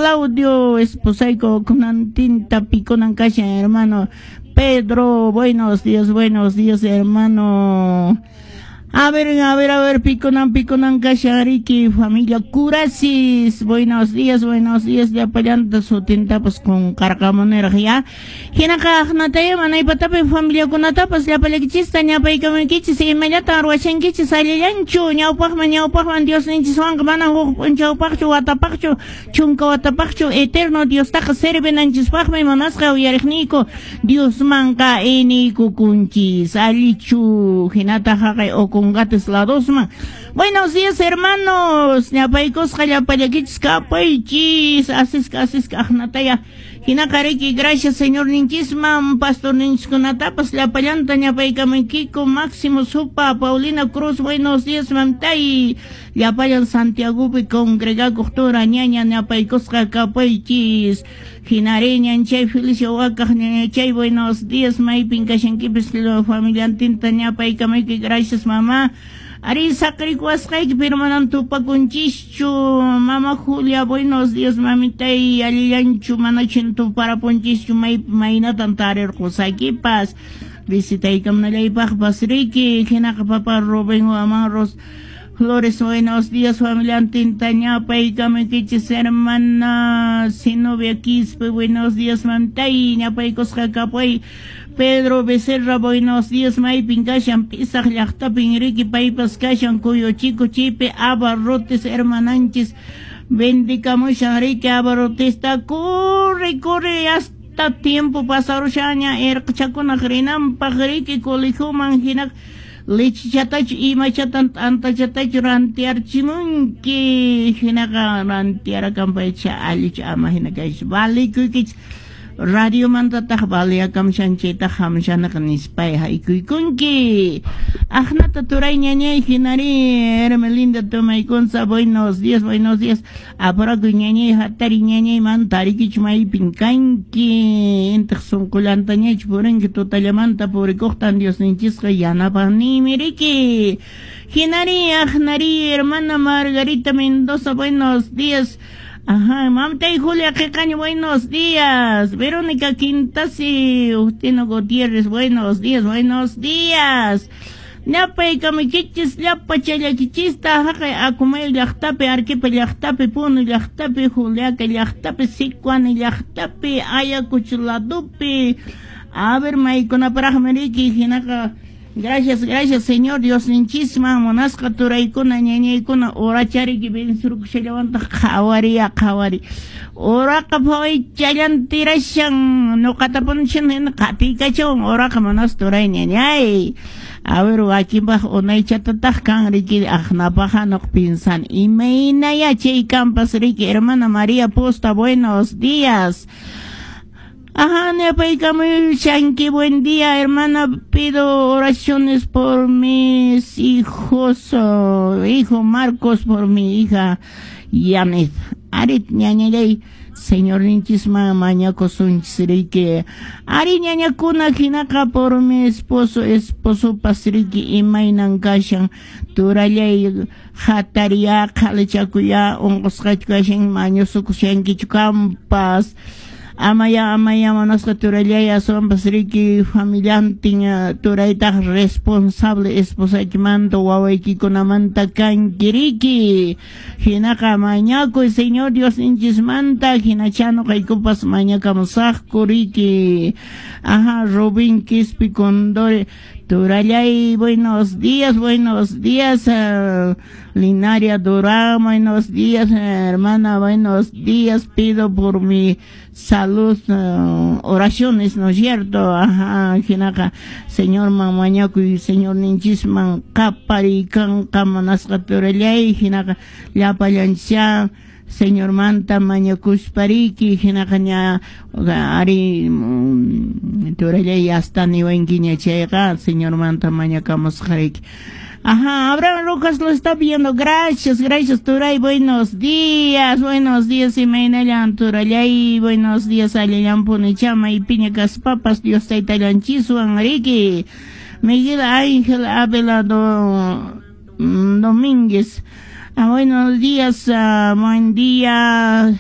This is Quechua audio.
Claudio, esposayku kunantinta pikunan kashan, hermano Pedro, buenos días, hermano. A ver, a ver, a ver, pikunan, pikunan kashan riki, familia Curasis, buenos días, llapallanta sutintapas qunqarqamuniraq ya. Hinaqa aqnataya manaypatapi familiakunatapas llapallakichista ñapaykamunkichis, imallatan ruwashankichis allillanchu, ñawpaqman ñawpaqman Diosninchiswanqa manan huk p'unchawpaqchu, watapaqchu, chunka watapaqchu, eterno Diostaqa servinanchispaqmi munasqa uyariqniyku, Diosmanqa iniykukunchis, allichu, hinataq haqay Ocongates ladosman. Buenos días, hermanos. Ñapaykusqa llapallakichis kapaychis. Asisqa, asisqa aqnataya. Hinaqa riki, gracias Señor ninchisman, pastor ninchiskunatapas llapallanta ñapaykamunkiku. Máximo Supa, Paulina Cruz, buenos días, mamtay. Llapallan Santiagopi congregakuq tura ñaña ñapaykusqa kapaychis. Hinari ñanchay Felicia Wakaq ñañachay, buenos días, maypin kashankipis familiantinta ñapaykamayki, gracias mamá. Ari saqrikuwasqayki, pero manan tupakunchischu. Mama Julia, buenos días, mamitay, allillanchu, manachin tuparapunchischu, may maynatan tarirqusaykipas. Visitaykamunallaypaqpas riki, hinaqa papa Rubén Amarros Flores, buenos días, familiantinta ñapaykamunkichis, hermana Zenobia Quispe, buenos días, mamtay, ñapaykusqa kapay. Pedro Becerra, buenos días, maypin kashan, Pisaq llaqtapin riki, paypas kashan, Kuyuchiku chaypi, abarrotes, hermananchis, vendikamushan riki, abarrotesta, corre, corre, hasta tiempo pasarushaña, erqchakunaq rinanpaq riki, colegioman hinaq, lechichatachu imachatan t'antachatachu rantiarchimunki, hinaqa rantiarakanpaycha allichu ama hina kaychu, valikuykichis. Radiomantataq valiakamshan chaytaq hamshanaqa nispay haykuykunki. Aqnata turay ñañay hinari Hermelinda Tomaykunza, buenos días, buenos días. Apurakuy ñañay hatari ñañay man tarikichu maypin kanki. Intiq sunqullantañachu purinki tutallamanta purikuqtan Diosninchisqa yanapanimi riki. Hinari aqnari hermana Margarita Mendoza, buenos días. Ajá, mamtay Julia Quecaño, buenos días. Verónica Quintasi, Justino Gutiérrez, buenos días, buenos días. Ñapaykamukichis, llapa challakichista, haqay Akumay llaqtapi, Arequipa llaqtapi, Puno llaqtapi, Juliaca llaqtapi, Sicuani llaqtapi, Ayacucho ladopi. A ver, maykunaparaqmi riki, hinaqa. Gracias, gracias, Señor Dios ninchisman, munasqa turaykuna, ñañaykuna, urachariki vensurkushalawantaq qhawariya qhawari. Uraqa phawaychallan tirashan, nuqatapunishan hina qatiykachawan uraqa munasqa turay ñañay. A ver, wakinpaq unaychatataq kan riki aqnapaqa nuq pinsan. Imaynaya chay kampas riki, hermana María Posta, buenos días. Ajá, ñapaykamushanki, buen día, hermana. Pido oraciones por mis hijos, oh, hijo Marcos, por mi hija Yanet. Arit ñañallay, Señor ninchisman mañakusunchis riki. Ari ñañakuna hinaqa por mi esposo, esposopas riki imaynan kashan. Turallay hatariya, qhalichakuya, unqusqachu kashan, mañusukushankichu kampas. Amaya, amaya, manasqa turallay, aswanpas riki familiantin turaytaq responsable esposaykimanta wawaykikunamanta kanki riki. Hinaqa mañakuy Señor Dios ninchismanta, hinacha nuqaykupas mañakamusaqku riki. Ajá, Rubín Quispi Condore, turallay, buenos días, Linaria Durán, buenos días, hermana, buenos días, pido por mi salud, oraciones, ¿no es cierto? Ajá, hinaqa, Señor mañakuy, Señor ninchisman qaparikanqa munasqa turallay, hinaqa llapallanchá Señor manta mañakuspariki, hinaqa ña ari turallay hasta niwankiña chayqa, Señor manta mañakamusqariki. Ajá, Abraham Rojas lo está viendo. Gracias, gracias, Turay. Buenos días, imaynallan, Turallay. Buenos días, allillan punichama y piña kaspapas, Dios taytallanchiswan, riki. Miguel Ángel Ávila Domínguez. Ah, buenos días, buen día.